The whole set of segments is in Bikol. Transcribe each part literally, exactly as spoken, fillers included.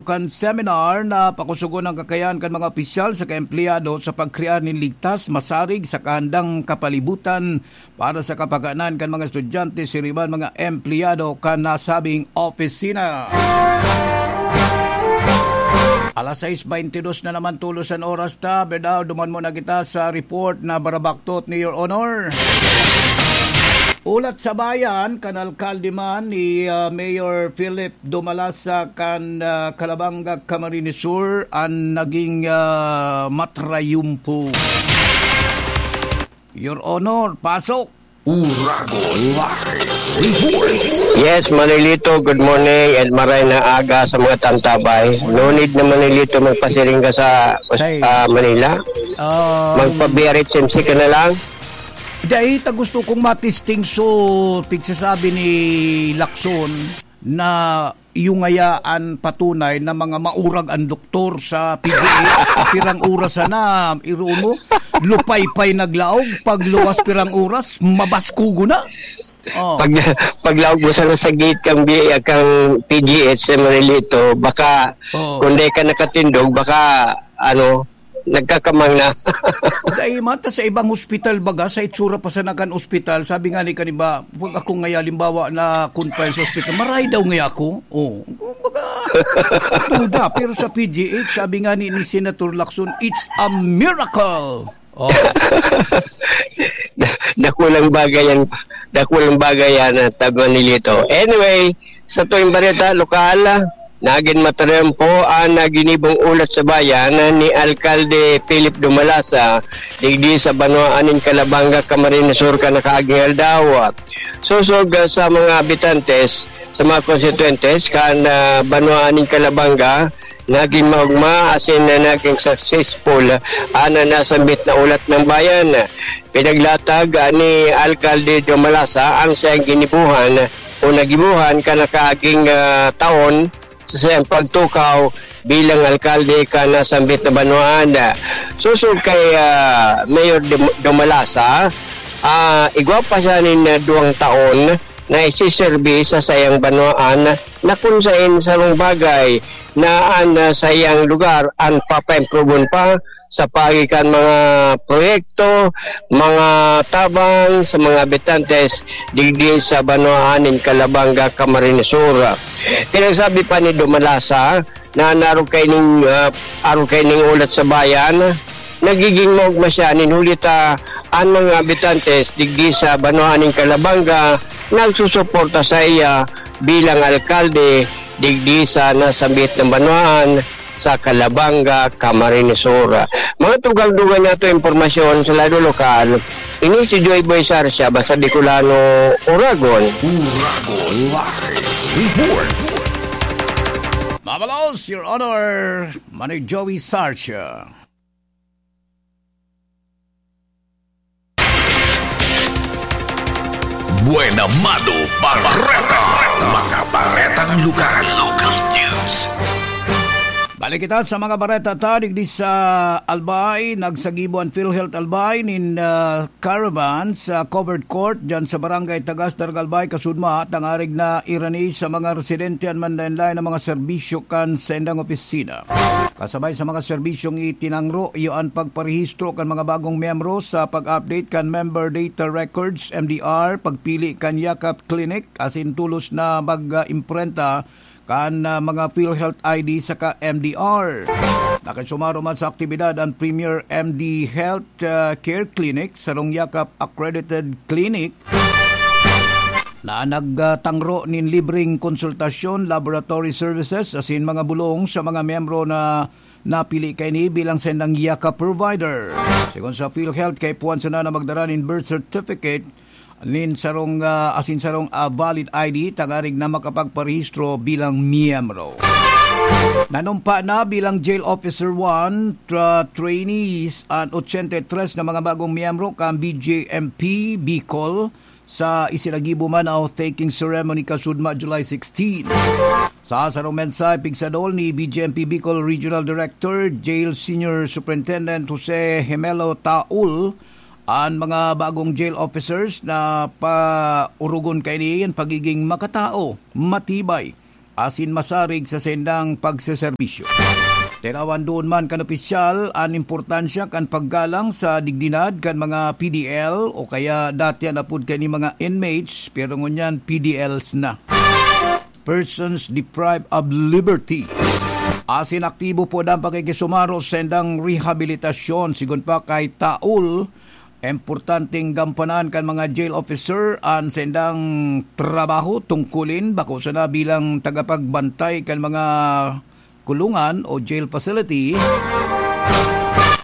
kan seminar na pakusugon ang kakayahan kan mga opisyal saka empleyado sa pagkrear nin ligtas, masarig saka handang kapalibutan para sa kapakanan kan mga estudyante, siring man mga empleyado kan nasabing opisina. Alas sais baynte dos na naman tolos an oras ta, Berdaw, duman muna kita sa report na barabaktot ni Your Honor. Ulat sa bayan, kan alkalde man ni, ah, Mayor Philip Dumalasa kan, ah, Calabanga, Camarines Sur, an naging, ah, matrayumpo. Your Honor, pasok! Uragon Live Report. Yes, Manilito, good morning and maray na aga sa mga tantabay. No need na, Manilito, magpasiring ka sa Ay. ah, Manila. Um, Magpa-B R H M C ka na lang. Dahil ta gusto kong matisting so, pigsasabi ni Lacson na iyo ngaya an patunay na mga maurag an doktor sa P G H. Pirang oras sana, iroon mo, lupaypay naglaog, pagluwas pirang oras, mabaskugo na. Oh. Pag, paglaog mo sana sa gate kang B-, kang P G H sa Manilito, baka Oo. kung di ka nakatindog, baka, ano, nagkakamang na. Dai mata sa ibang hospital baga, sa itsura pa sana kan ospital, sabi nga ni kaniba, pag ako nga halimbawa na confine sa ospital, maray daw nga ako. Oh, kumbaga, duda. Pero sa P G H, sabi nga ni, ni Senator Lacson, "It's a miracle." Oh. Dakulang bagay yan. Dakulang bagay yan, ah, Manilito. Anyway, sa tuwing bareta lokal, nagin matrayumpo an ginibong ulat sa bayan ni Alkalde Philip Dumalasa, digdi sa banwaan nin Calabanga, Camarines Sur, kan nakaaging aldaw. Sosog, ah, sa mga habitantes, sa mga konstituyentes kan, ah, banwaan nin Calabanga, nagin maogma asin nagin successful an nasambit na ulat ng bayan. Pinaglatag, ah, ni Alkalde Dumalasa ang saiyang ginibuhan o nagibuhan kan nakaaging, ah, taon sa saiyang pagtukaw bilang alkalde kan nasambit na banwaan. Sosog kay, ah, Mayor Dum-, Dumalasa, ah, igwa pa siya nin, ah, duwang taon na isiserbi sa saiyang banwaan na kun saen sarong bagay na an, ah, saiyang lugar an papaimprobon pa sa paagi kan mga proyekto, mga tabang sa mga habitantes digdi sa banwaan nin Calabanga, Camarines Sur. Pinagsabi pa ni Dumalasa na narog kaining, ah, arog kaining ulat sa bayan, nagiging maogma siya nin huli ta an mga habitantes digdi sa banwaan nin Calabanga nagsusuporta saiya bilang alkalde digdi sa nasambit na banwaan sa Calabanga, Camarines Sur. Mga tugang-dugang niya to impormasyon sa lado lokal, ini si Joy Boy Sarsia, basta Bicolano, Uragon. Uragon Live Report. Mabalos, Your Honor, Manoy Joey Sarsia. Buena Mano Bareta. Mga baretang lokal. Local news. Balik kita sa mga bareta ta digdi sa Albay. Nagsagibo an PhilHealth Albay nin, ah, caravan sa covered court dyan sa Barangay Tagas, Darga Albay, Kasudma, tangarig na irani sa mga residente an manlaen-laen na mga serbisyo kan saindang opisina. Kasabay sa mga serbisyong itinangro, iyo an pagparehistro kan mga bagong miyembro sa pag-update kan Member Data Records, M D R, pagpili kan Yakap Clinic, asin tolos na mag-imprenta kan, ah, mga PhilHealth I D saka M D R. Nakisumaro man sa aktibidad an Premier M D Health, ah, Care Clinic, sarong Yakap accredited clinic na nagtangro nin libreng konsultasyon, laboratory services, asin mga bulong sa mga miyembro na napili kaini bilang saindang Yakap provider. Segun sa PhilHealth, kaipuhan sana na magdara nin birth certificate nin sarong, ah, asin sarong, ah, valid I D tangarig na makapagparehistro bilang miyembro. Nanumpa na bilang Jail Officer one tra-, trainees an ochenta y tres na mga bagong miyembro kan B J M P Bicol sa isinagibo man na oath-taking ceremony kasudma July sixteen. Sa sarong mensahe, pigsadol ni B J M P Bicol Regional Director, Jail Senior Superintendent Jose Gemelo Taul, an mga bagong jail officers na paurugon kaini an pagiging makatao, matibay, asin masarig sa saindang pagseserbisyo. Tinawan duon man kan opisyal an importansya kan paggalang sa dignidad kan mga P D L o kaya dati an apod kaini mga inmates, pero ngunyan P D Ls na. Persons deprived of liberty. Asin aktibo po ang pakikisumaros sa indang rehabilitasyon. Sigon pa kay Taul, importanteng gampanan kan mga jail officer an saindang trabaho tungkulin, bako sana bilang tagapagbantay kan mga kulungan o jail facility,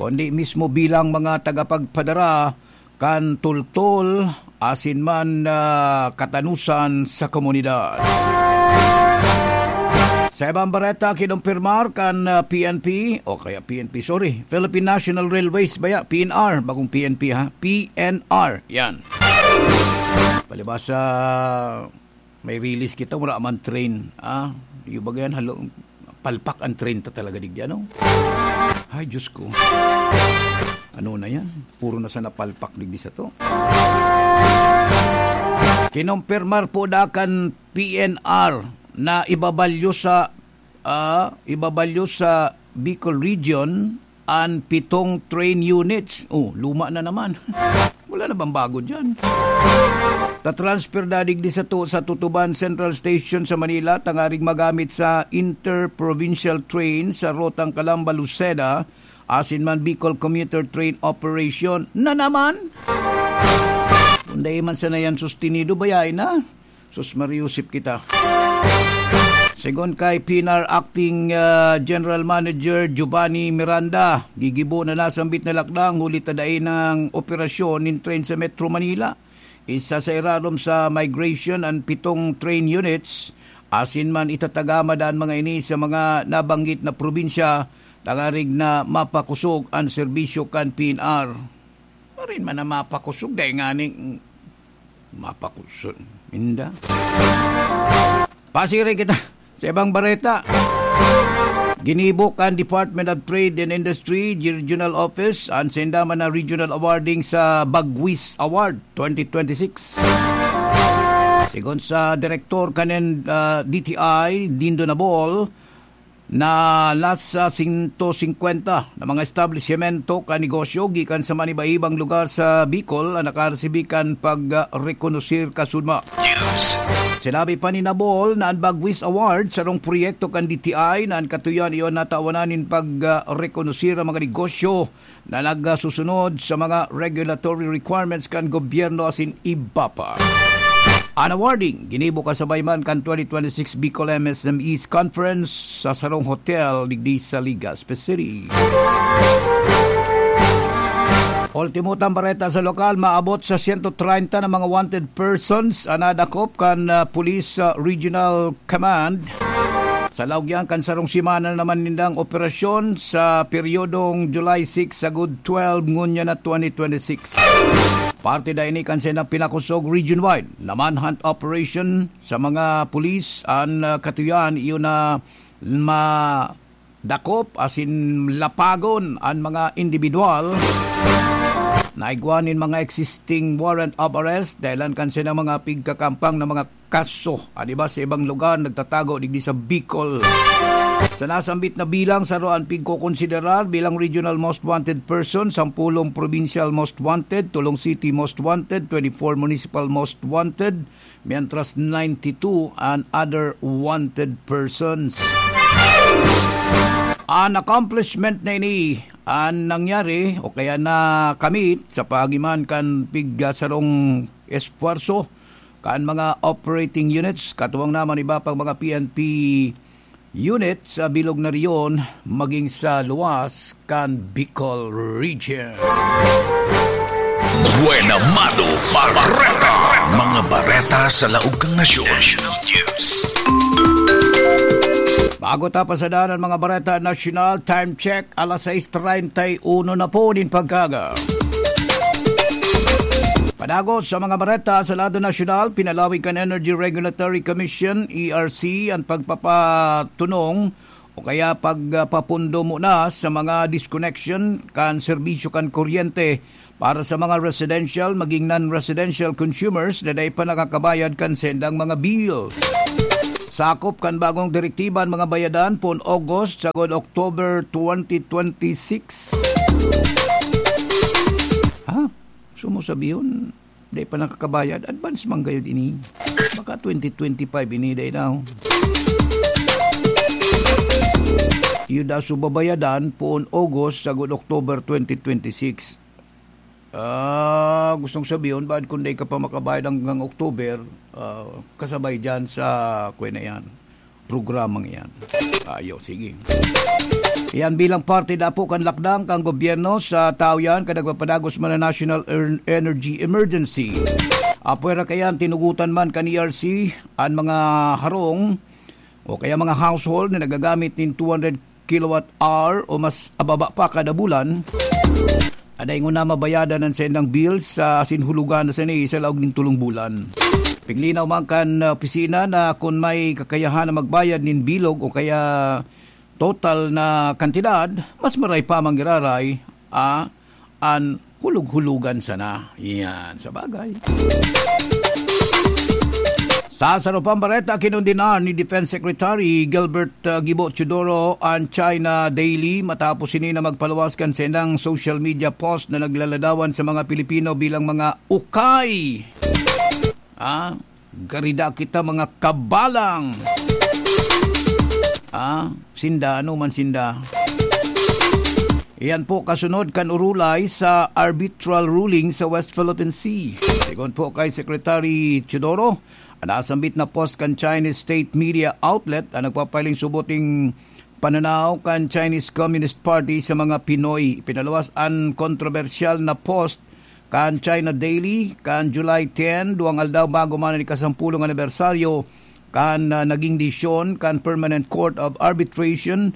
kundi mismo bilang mga tagapagpadara kan tultol asin man, ah, katanusan sa komunidad. Sa ibang bareta, kinumpirmar kan, ah, P N P, o kaya P N P, sorry, Philippine National Railways ba ya? P N R, bagong P N P ha? P N R, yan. Palibasa, may release kita, wala man train. Ah, yung baga yan, halo, palpak ang train ta talaga digdi, ano? Ay, Diyos ko. Ano na yan? Puro na sana palpak digdi sa to. Kinumpirmar po da kan P N R na ibabalyo sa, ah, ibabalyo sa Bicol Region an pitong train units. Oh, luma na naman. Wala na bang bago dyan? Ta-transfer dadig di sa, tu- sa Tutuban Central Station sa Manila, tangaring magamit sa interprovincial train sa rotang Calamba-Lucena, asin man Bicol Commuter Train Operation na naman. Kung dai man sana yan sustenido, bayay na. Sus, mariusip kita. Segun kay P N R Acting, ah, General Manager Giovanni Miranda, gigibo na nasambit na lakdang huli ta dai nang operasyon nin train sa Metro Manila. Isa sa irarom sa migration an pitong train units, asin man itatagama daa an mga ini sa mga nabanggit na probinsya, tangarig na mapakosog an serbisyo kan P N R. Marin man na mapakosog, dai nganing mapakosog. Inda. Pasiring kita sa ibang bareta. Ginibo kan Department of Trade and Industry Regional Office an sainda man na regional awarding sa Bagwis Award twenty twenty-six. Sigon sa direktor kanin, ah, D T I, Dindo Nabol, na nasa sento singkwenta na mga establisyemento kan negosyo gikan sa maniba-ibang lugar sa Bicol an nakaresibi kan pagrekonosir kasudma. News. Sinabi pa ni Nabol na an Bagwis Award sarong proyekto kan D T I na an katuyan iyo natawanan nin pagrekonosir ang mga negosyo na nagsusunod sa mga regulatory requirements kan gobyerno asin iba pa. An awarding ginibo kasabay man kan twenty twenty-six Bicol M S M Es Conference sa sarong hotel digdi sa Legazpi City. Ultimo tang bareta sa lokal, maabot sa sento treinta na mga wanted persons an nadakop kan, ah, Police, ah, Regional Command. Sa laog yan kan sarong semana na naman nindang operasyon sa peryodong July six sagod twelve ngunyan na twenty twenty-six. Parte da ini kan saindang pinakosog region-wide na manhunt operation sa mga pulis an, ah, katuyan iyo na madakop asin lapagon an mga individual na igwa nin mga existing warrant of arrest dahilan kan saindang mga pigkakampang na mga kaso. An iba sa ibang lugar nagtatago digdi sa Bicol. Sa nasambit na bilang, saro an pigkokonsiderar bilang regional most wanted person, sampulong provincial most wanted, tolong city most wanted, twenty-four municipal most wanted, mientras ninety-two an other wanted persons. An accomplishment na ini an nangyari o kaya nakamit sa paagi man kan pigasarong esfuerso kan mga operating units, katuwang na man iba pang mga P N P unit sa bilog na rehiyon maging sa luwas kan Bicol Region. Buena Mano Bareta. Mga bareta sa laog kan nasyon. National News. Bago ta pasadan an mga bareta nasyonal, time check, alas sais treinta y uno na po nin pagkaaga. Padagos sa mga bareta sa lado nasyonal, pinalawig kan Energy Regulatory Commission, E R C, an pagpapatunong o kaya pagpapundo muna sa mga disconnection kan serbisyo kan kuryente para sa mga residential maging non-residential consumers na dai pa nakakabayad kan saindang mga bills. Sakop kan bagong direktiba an mga bayadan poon August sagod October twenty twenty-six. Ha? So, mo sabihon, di pa nakakabayad, advance man gayud ini. Baka twenty twenty-five ini, day now. Iyo da so babayadan poon August sagod October twenty twenty-six. Ah, gustong sabihon, baad kun dai ka pa makabayad hanggang October, ah, kasabay dyan sa, kuwan na yan, programang yan. Ayo, sige. Yan bilang parte dapo kan lakdang kan gobyerno sa tao yan, kan nagpapadagos man na national er-, energy emergency. Apwera kayan, tinugutan man kan E R C an mga harong o kaya mga household na nagagamit nin two hundred kilowatt hour o mas ababa pa kada bulan, aday nguna mabayadan an saindang bills sa asin hulugan na sini sa laog nin tolong bulan. Piglinaw man kan opisina na kun may kakayahan na magbayad nin bilog o kaya total na kantidad, mas maray pa manggiraray, ah, an hulog-hulugan sana. Yan, sa bagay. Sa sarupang bareta, kinondenar ni Defense Secretary Gilbert, uh, Gibo Teodoro an China Daily matapos ini na magpaluwas kan saindang social media post na naglaladawan sa mga Pilipino bilang mga ukay. Ah, garida kita, mga kabalang. Ah, sinda, ano man sinda. Iyan po kasunod kan urulay sa arbitral ruling sa West Philippine Sea. Sigon po kay Secretary Teodoro, an nasambit na post kan Chinese state media outlet an nagpapahiling subot ning pananaw kan Chinese Communist Party sa mga Pinoy. Pinaluwas an kontrobersyal na post kan China Daily kan July ten, duwang aldaw bago man an ikasampulong anibersaryo kan, ah, naging desisyon kan Permanent Court of Arbitration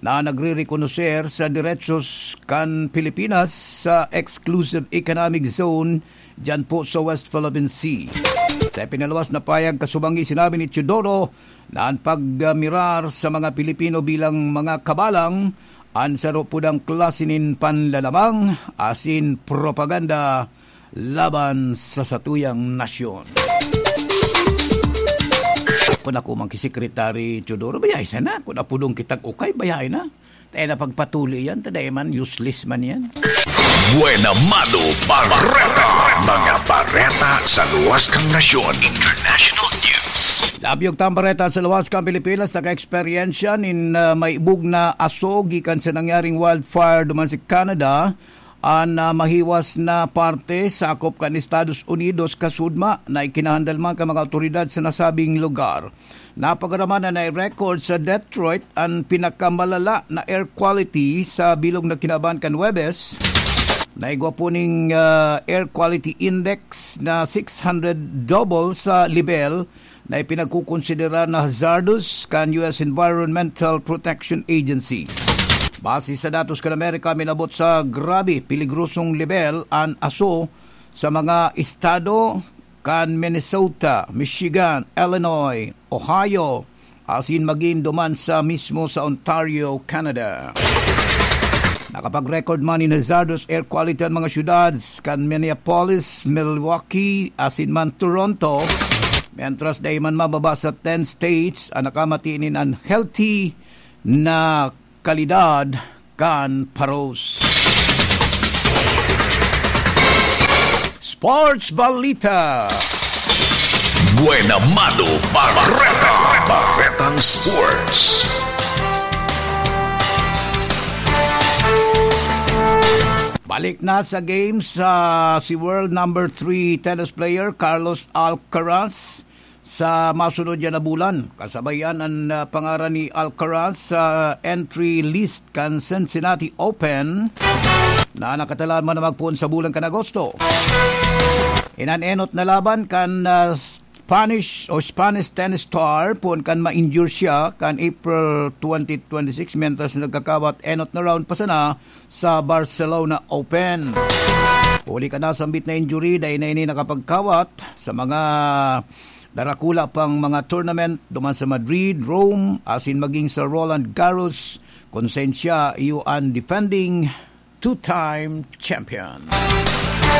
na nagrerekonoser sa derechos kan Pilipinas sa exclusive economic zone diyan po sa West Philippine Sea. Sa ipinaluwas na payag kasubangi, sinabi ni Teodoro na an pagmirar sa mga Pilipino bilang mga kabalang, an saro po dang klase nin panlalamang asin propaganda laban sa satuyang nasyon. Kun ako man ki Secretary Teodoro, bayay sana. Kun apodon kitang ukay, bayay na. Tayo na pagpatuli yan, taday man, useless man yan. Buena Mano Bareta, mga bareta sa luwas kan nasyon, international news. Labyog tang bareta sa luwas kan Pilipinas, naka-eksperyensya nin, ah, maibog na aso gikan sa nangyaring wildfire duman sa Canada. An, ah, mahiwas na parte sakop kan Estados Unidos, kasudma na ikinahandal man kan mga awtoridad sa nasabing lugar. Napagaraman na nai-record sa Detroit an pinakamalala na air quality sa bilog na kinaban kan Huwebes. Naigwa po ning, ah, air quality index na six hundred, double sa level na ipinagkukonsidera na hazardous kan U S Environmental Protection Agency. Base sa datos kan Amerika, minabot sa grabe peligrosong level an aso sa mga estado kan Minnesota, Michigan, Illinois, Ohio, asin magin duman sa mismo sa Ontario, Canada. Nakapag-record man nin hazardous air quality an mga syudad kan Minneapolis, Milwaukee, asin man Toronto, mientras dai man mababa sa ten states an nakamati nin unhealthy na kalidad kan paros. Sports Balita. Buena Mano Bareta. Baretang Sports. Balik na sa games, ah, si world number three tennis player Carlos Alcaraz sa masunod yan na bulan. Kasabayan an, ah, pangaran ni Alcaraz sa entry list kan Cincinnati Open na nakatalaan man na magpoon sa bulan kan Agosto. Inan enot na laban kan, ah, Spanish o Spanish tennis star poon kan ma-injure siya kan April twenty twenty-six, mientras nagkakawat enot na round pa sana sa Barcelona Open. Huli kan nasambit na injury, dai na ini nakapagkawat sa mga darakula pang mga tournament duman sa Madrid, Rome, asin maging sa Roland Garros, kun saen siya iyo an defending two-time champion.